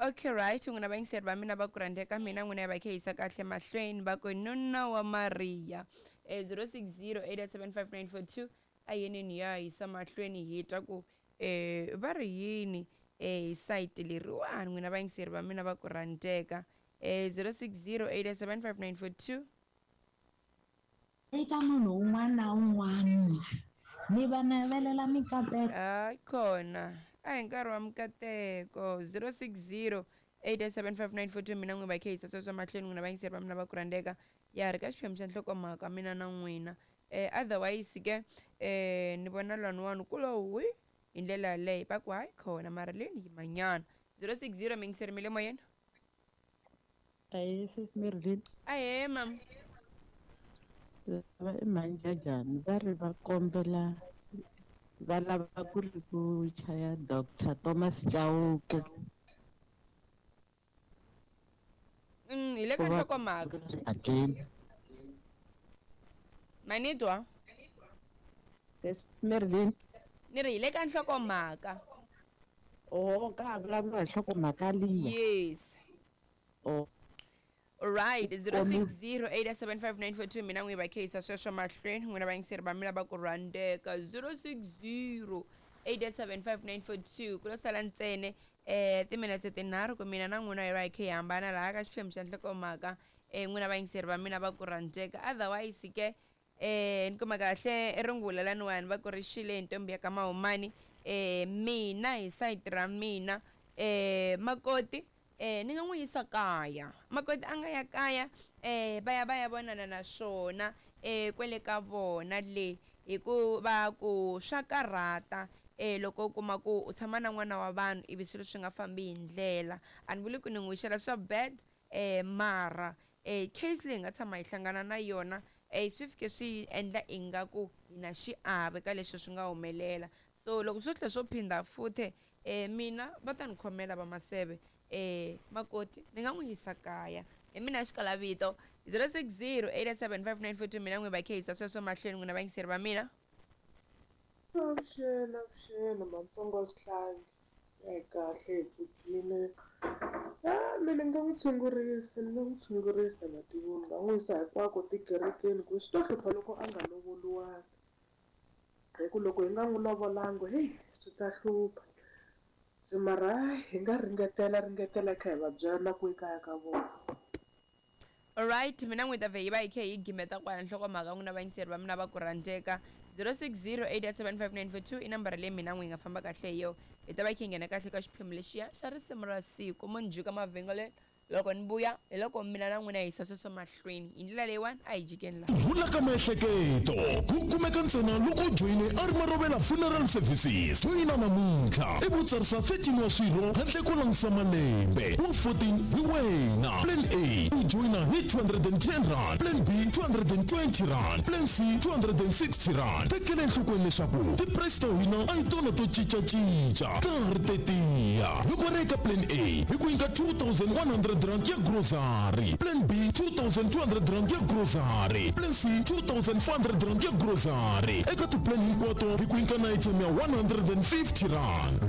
Okay, right, n'wina vayingiseri va mina va ku rhandzeka mina n'wina va khe yisa kahle mahlweni va ku nuna wa Mariya 0608755942 a yeneni ya yisa mahlweni hi twa ku va ri yini hi sayiti leriwani n'wina vayingiseri va mina va ku rhandzeka 0608755942. Eka munhu un'wana na un'wana ni va navelela mikateko. Hayi khona a hi nkarhi wa mikateko. 0608755942 mina n'wi va khe yisa sweswo mahlweni n'wina vayingiseri va mina va ku rhandzeka ya ri ka xiphemu xa nhlokomhaka mina na n'wina. Otherwise ke ni vona lwaniwani ku lo hwi hi ndlela yaleyo va ku hayi khona mara leni yimanyana. 060 miyingiseri mi le moyeni. Ahee sis Merlin. Ahee mam. Lava i Manjajani va ri va kombela va lava ku ri ku chaya Dr Thomas Chauke. Hi le ka nhlokomhaka. Again. Manitwa? Yes, Merlin. Ni ri hi le ka nhlokomhaka. Oh, ka ha vulavula hi nhlokomhaka liya. Yes. Oh. Right, 0608755942 mina n'wi va kheyisa sweswo mahlweni n'wina vayingiseri va mina va ku rhandzeka. 0608755942 ku lo sala ntsene timinetse tinharhu ku mina na n'wina hi va hi khe hi hambana laha ka xiphemu xa nhlokomhaka n'wina vayingiseri va mina va ku rhandzeka. Otherwise ke ni kuma kahle rungula laniwani va ku ri xile ntombi ya ka Mahumani. Mina hi sayiti ra mina makoti ni nga n'wi yisa kaya. Makoti a nga ya kaya va ya va ya vonana na swona kwele ka vona le hikuva ku swa karhata loko u kuma ku u tshama na n'wana wa vanhu ivi swilo swi nga fambi hi ndlela. A ni vuli ku ni n'wi wixela swa bad mara case leyi nga tshama hi hlangana na yona swi fike swi endla ingaku hi na xiave ka leswi swi nga humelela. So loko swo tlhela swo phinda futhe mina va ta ni khomela va maseve makoti ni nga n'wi yisa kaya. Hi mina xikalavito 0608755942 mina n'wi va kheyisa sweswo mahlweni n'wina vayingiseri va mina. Avuxeni, avuxeni matsongo wa swihlangi. Hi kahle hi pfukile. Mina ni nga n'wi tshungurisa, ni nga n'wi tshungurisa matimu ni nga n'wi yisa hinkwako tikerekeni ku swi to hlupha loko a nga lovoliwanga. Hi ku loko hi nga n'wi lovolanga heyi swi ta hlupha. Se mara hi nga ringetela ringetela kha hi va byela na ku ekaya ka vona. Alright, mina n'wi ta vhe yi va yi khe yi gimeta kwala nhlokomhaka n'wina vayingiseri va mina va ku rhandzeka. 0608755942 i nambara leyi mina n'wi hi nga famba kahle hi yona. Hi ta va yi khe yi nghena kahle ka xiphemu lexiya xa risimu ra siku. Mo ni jika mavhengele loko ni vuya hi loko mina na n'wina hi yisa sweswo mahlweni hi ndlela leyiwani a hi jikeni laha. Ku rhula ka miehleketo ku kumeka ntsena loko u joyine Arma Rovela Funeral Services. Joyina namuntlha ivi u tsarisa 13 wa swirho handle ko langutisa malembe. Wa 14 hi wena. Plan A, u joyina hi R210, Plan B R220, Plan C R260. Tekela enhlokweni leswaku ti-price ta hina a hi tona to cinca-cinca, ta ha ri tetiya. Loko ri eka Plan A, hi ku nyika R2100 ya grocery, Plan B R2200 ya grocery, Plan C R2400 ya grocery. Eka ti-plan hinkwato hi ku nyika na airtime ya R150.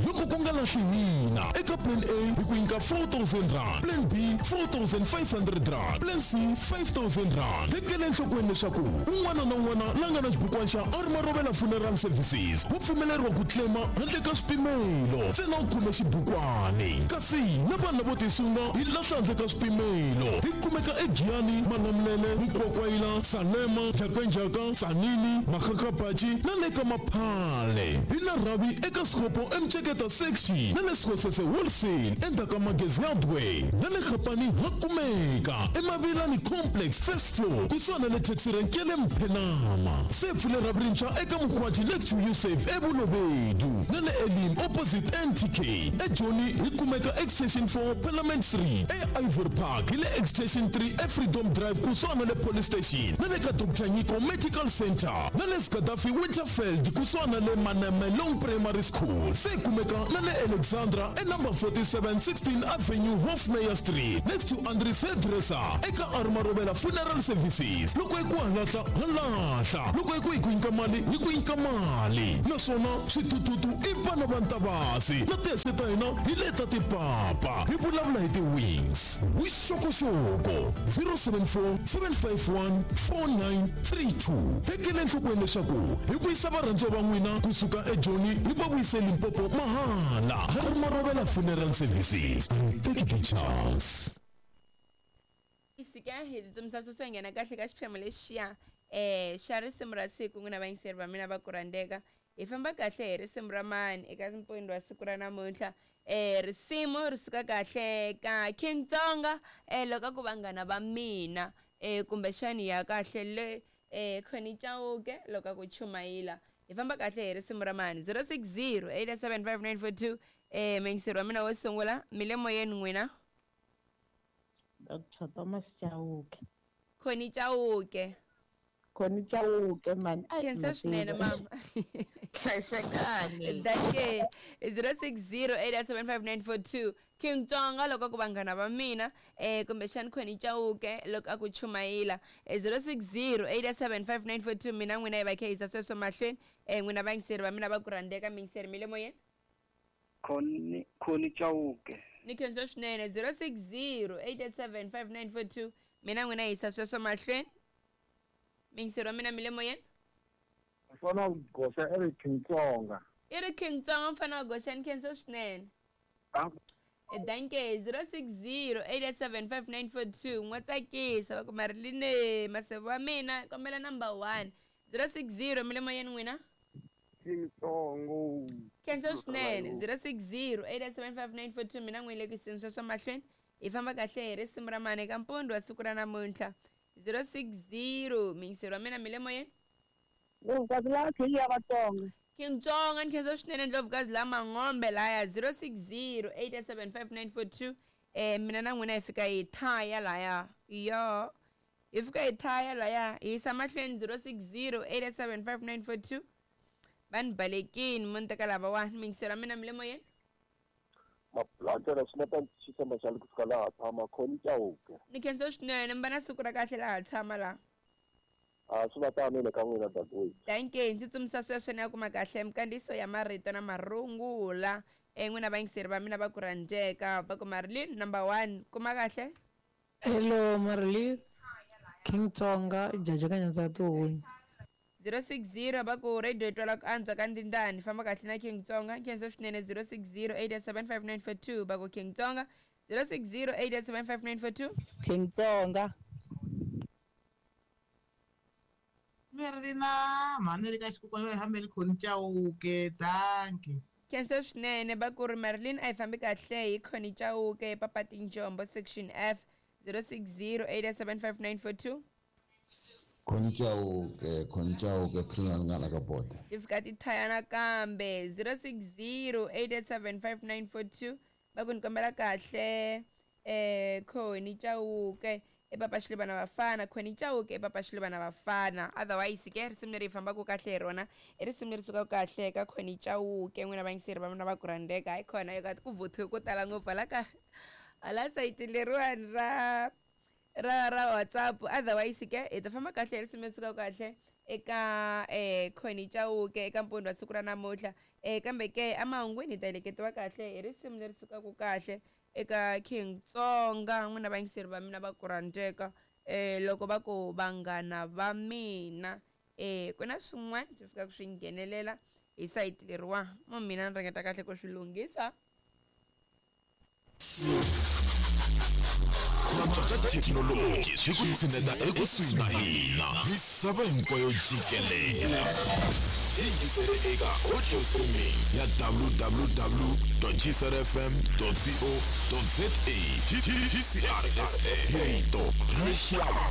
Loko ku nga lahli hina, eka Plan A hi ku nyika R4000, Plan B R4500, Plan C R5000. Tekela enhlokweni leswaku un'wana na un'wana la nga na xibukwana xa Arma Rovela Funeral Services wa pfumeleriwa ku claim-a handle ka swipimelo ntsena u khome xibukwani. Kasi na vanhu lavo tisunga hi lahla handle ka swipimelo. Hi kumeka eGiyani, Malamulele, Mukwakwayila, Salema, Njhakanjhaka, Tzaneen, Makgakgapatši na le ka Maphale. Hi na rhavi eka Sekgopo eMceketa Section na le Sekgosese Wholesale endzhaku ka Magezi Hardware na le Kgapane ha kumeka eMavilani Complex first floor kusuhana na le taxi rank ya le Mphenama. Se pfule rhavi rintshwa eka Mokgwathi next to Usave eBolobedu na le Elim opposite NTK. EJoni hi kumeka Extension 4 Parliament Street, eIvory Park hi le Extension 3 eFreedom Drive kusuhana na le Police Station na le ka Doctor Nyiko Medical Centre na le Gaddafi Winterfeld kusuhana na le Manamelong Primary School. Se hi kumeka na le Alexandra e number 4. 47 16 Avenue, Hofmeyr Street, next to Andries Hairdresser, eka Armarovela Funeral Services. Loko hi ku halahla, halahla. Loko hi ku hi ku nyika mali, hi ku nyika mali. Naswona switututu i vana va Ntavasi. Na tihexe ta hina hi leta tipapa. Hi vulavula hi ti-wings. Vuxokoxoko 074 751 4932. Tekela enhlokweni leswaku hi vuyisa varhandziwa va n'wina kusuka eJoni hi va vuyise Limpopo mahala. Armarovela Funeral Services. Take the chance. Sika hi tsutsumisa sweswo hi nghena kahle ka xiphemu lexiya xa risimu ra siku. N'wina vayingiseri va mina va ku rhandzeka, hi famba kahle hi risimu ra mani eka mpfundo wa siku ra namuntlha? Risimu ri suka kahle ka King Tsonga, loko ku vanghana va mina, kumbexani ya kahle le Connie Chauke loko a ku chumayila. Hi famba kahle hi risimu ra mani? 060 875 942. Muyingiseri wa mina wo sungula, mi le moyeni n'wina. Dr Thomas Chauke. Connie Chauke. Connie Chauke mani. Ai, Khensa swinene mama. Hlayisekani. Dake 060 875 King Tsonga loko ku vanghana va mina, kumbexani Connie Chauke loko a ku chumayila. 060 875 mina n'wina hi va kha yisa sweswo mahlweni. N'wina vayingiseri va mina va ku rhandzeka, miyingiseri mi le moyeni. Connie Chauke. Ni khensa swinene. 060 875 mina n'wina yisa sweswo mahlweni. Miyingiseri wa mina, mi le moyeni. Mfana goxa i ri King Tsonga. I ri King Tsonga mfana wa goxa, ni khensa swinene. Danke. 060 875 n'wa tsakisa va ku Mariline maseve wa mina, kombela number 1. 060 mi le moyeni n'wina. King Tsongo. Khensa swinene. 060 875 mina n'wini le ku yiseni sweswo mahlweni. Hi famba kahle hi risimu ra mani eka mpundzu wa siku ra namuntlha? 060 miyingiseri wa mina, mi le moyeni. Ndlovukazi la King ya Vatsonga. King Tsonga, ni khensa swinene Ndlovukazi la Mangombe laya. 060 875 mina na n'wina hi fika hi thaya laya, yo hi fika hi thaya laya, hi yisa mahlweni. 060 875 va ni balekini mo ni teka lavawani. Miyingiseri wa mina, mi le moyeni. Mabulantela swi na ta xitshemba xa kusuka laha tshama Connie Chauke. Ni khensa swinene, mi va na siku ra kahle laha tshama laha. A swi va tano le ka n'wina dadewethu. Danke. Ndzi tsutsumisa sweswo ni ya kuma kahle minkandziyiso ya marito na marungula. N'wina vayingiseri va mina va ku rhandzeka, va ku Marilyn number 1 kuma kahle. Hello Marilyn, King Tsonga jaja ka nyanza tihunyi. 060 va ku radio twala ku antswa ka ndindani, famba kahle na King Tsonga. Khensa swinene. 060 875 va ku King Tsonga. 060 875 King Tsonga. Merina mhani ri ka xikukwana ri hambeni Connie Chauke. Danke. Khensa swinene. Va ku ri Marilyn a yi fambi kahle hi Connie Chauke, Papa Tinjombo section F. 060 875 Connie Chauke, Connie Chauke philana nga la ka bote. Ti fika ti thaya nakambe. 060 875 va ku ni kombela kahle Connie Chauke epapa Xilivana Vafana. Connie Chauke epapa Xilivana Vafana. Otherwise ke risimu leri hi fambaka kahle hi rona i risimu leri sukaka kahle ka Connie Chauke. N'wina vayingiseri va mina va ku rhandzeka, hayi khona yo ku vuthiwe ko tala ngopfu hala ka hala sayiti leriwani ra ra ra WhatsApp. Otherwise ke hi ta famba kahle hi risimu leri sukaka kahle eka Connie Chauke eka mpundzu wa siku ra namuntlha. Kambe ke emahungwini hi ta heleketiwa kahle hi risimu leri sukaka kahle eka King Tsonga. N'wina vayingiseri va mina va ku rhandzeka, loko va ku vanghana va mina, ku na swin'wana swi fikaka swi nghenelela hi sayiti leriwa mo mina ni ringeta kahle ku swi lunghisa. Thekinoloji swi ku tshineta ekusuhi na hina misava hinkwayo jikelela. Yingisele eka audio streaming ya www.gcrfm.co.za. GCRFM, hi rito ra rixaka.